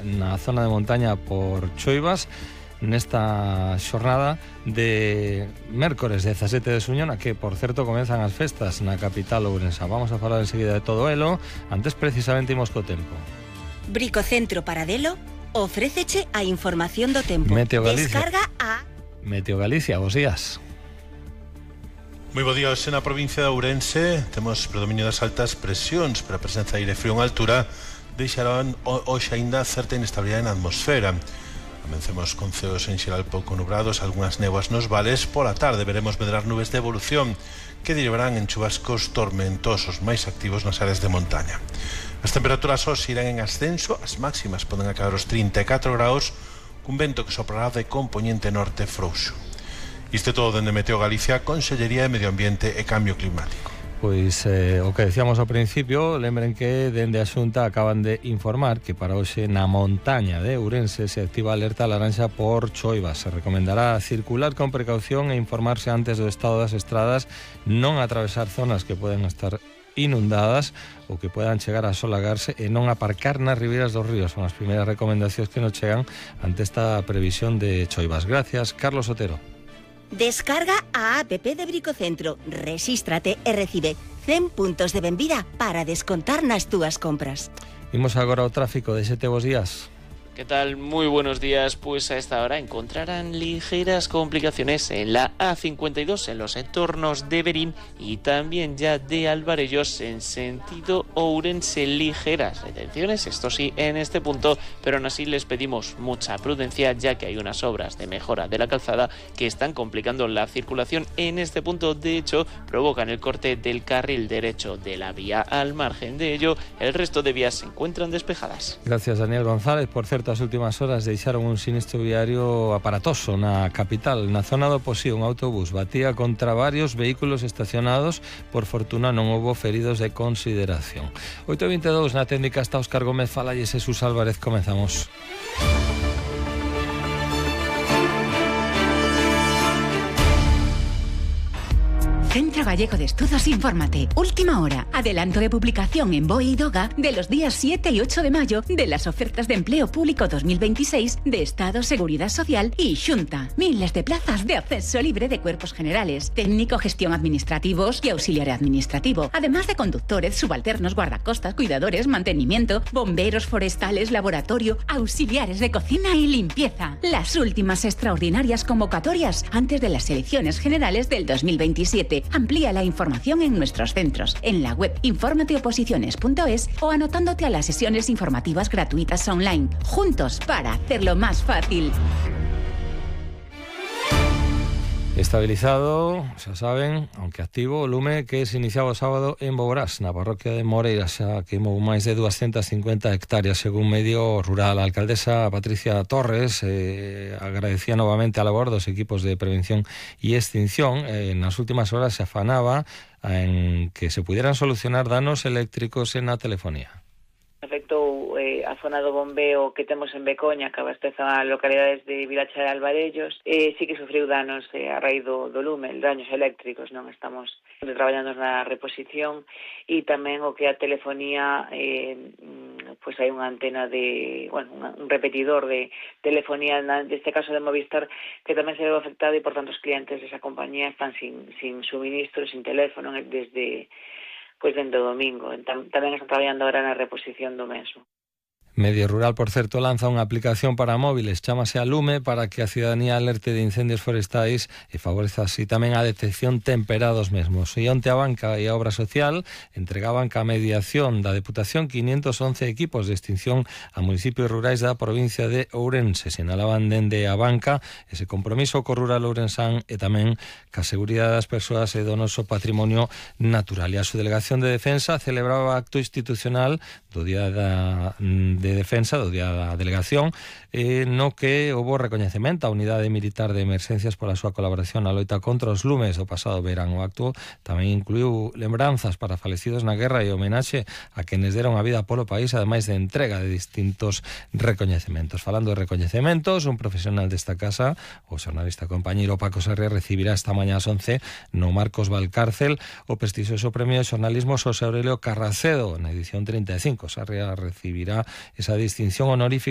na zona de montaña por choivas nesta xornada de mércores 17 de xuño, na que, por certo, comenzan as festas na capital ourensa. Vamos a falar enseguida de todo elo. Antes, precisamente, imos co tempo. Bricocentro Paradelo ofréceche a información do tempo. Meteo Galicia. Descarga a Meteo Galicia, bos días. Moi bo día. Hoxe na provincia de Ourense temos predominio das altas presións, pero a presenza de aire frío en altura deixarán hoxe aínda certa inestabilidade na atmosfera. Amencemos con ceos en xeral pouco nubrados, algunhas néboas nos vales. Pola tarde veremos medrar nubes de evolución que derivarán en chubascos tormentosos máis activos nas áreas de montaña. As temperaturas hoxe irán en ascenso, as máximas poden acabar os 34 graus, cun vento que soprará de compoñente norte frouxo. Isto é todo dende Meteo Galicia, Consellería de Medio Ambiente e Cambio Climático. Pois o que decíamos ao principio, lembren que dende a Xunta acaban de informar que para hoxe na montaña de Ourense se activa alerta laranxa por choivas. Se recomendará circular con precaución e informarse antes do estado das estradas, non atravesar zonas que poden estar inundadas ou que puedan chegar a solagarse e non aparcar nas ribeiras dos ríos. Son as primeiras recomendacións que nos chegan ante esta previsión de choivas. Gracias, Carlos Otero. Descarga a app de Bricocentro, rexístrate e recibe 100 puntos de benvida para descontar nas túas compras. Imos agora ao tráfico. Deixete bos días. ¿Qué tal? Muy buenos días. Pues a esta hora encontrarán ligeras complicaciones en la A52 en los entornos de Berín y también ya de Alvarellos en sentido Ourense. Ligeras retenciones, esto sí, en este punto, pero aún así les pedimos mucha prudencia ya que hay unas obras de mejora de la calzada que están complicando la circulación en este punto. De hecho, provocan el corte del carril derecho de la vía. Al margen de ello, el resto de vías se encuentran despejadas. Gracias, Daniel González. Por certo, as últimas horas deixaron un sinistro viario aparatoso na capital. Na zona do Posí, un autobús batía contra varios vehículos estacionados. Por fortuna non houbo feridos de consideración. 8:22 na técnica está Óscar Gómez, falalles Jesús Álvarez. Comenzamos. Centro Gallego de Estudos Infórmate. Última hora. Adelanto de publicación en BOE y DOGA de los días 7 y 8 de mayo de las ofertas de empleo público 2026 de Estado, Seguridad Social y Xunta. Miles de plazas de acceso libre de cuerpos generales, técnico, gestión administrativos y auxiliar administrativo, además de conductores, subalternos, guardacostas, cuidadores, mantenimiento, bomberos forestales, laboratorio, auxiliares de cocina y limpieza. Las últimas extraordinarias convocatorias antes de las elecciones generales del 2027. Amplía la información en nuestros centros, en la web informateoposiciones.es o anotándote a las sesiones informativas gratuitas online. Juntos para hacerlo más fácil. Estabilizado, xa saben, aunque activo, o lume que se iniciaba o sábado en Boborás, na parroquia de Moreira. Xa queimou máis de 250 hectáreas, según Medio Rural. A alcaldesa Patricia Torres agradecía novamente a labor dos equipos de prevención e extinción. Nas últimas horas se afanaba en que se pudieran solucionar danos eléctricos en a telefonía. Afectou a zona do bombeo que temos en Becoña, que abasteza a localidades de Vilacha e Alvarellos, sí que sufriu danos a raíz do lume, daños eléctricos, non estamos traballando na reposición, e tamén o que a telefonía, pois hai unha antena de, un repetidor de telefonía, neste caso de Movistar, que tamén se veu afectado e, por tanto, os clientes desa compañía están sin suministro, sin teléfono, desde dentro do domingo. Tamén están traballando ahora na reposición do mesmo. Medio Rural, por certo, lanza unha aplicación para móviles, chámase a Lume, para que a cidadanía alerte de incendios forestais e favoreza así tamén a detección temperada dos mesmos. E onte a Banca e a Obra Social entregaban ca mediación da Deputación 511 equipos de extinción a municipios rurais da provincia de Ourense. Sinalaban dende a Banca ese compromiso co rural ourensán e tamén ca seguridade das persoas e do noso patrimonio natural. E a Subdelegación de Defensa celebraba acto institucional do Día de Defensa, do Día da Delegación, no que houbo recoñecemento á Unidade Militar de Emerxencias pola súa colaboración na loita contra os lumes do pasado verán. O acto tamén incluiu lembranzas para falecidos na guerra e homenaxe a quenes deron a vida polo país, ademais de entrega de distintos recoñecementos. Falando de recoñecementos, un profesional desta casa, o xornalista compañeiro Paco Sarria, recibirá esta mañá ás 11 no Marcos Valcárcel o prestixioso premio de xornalismo Xosé Aurelio Carracedo na edición 35. Sarria recibirá esa distinción honorífica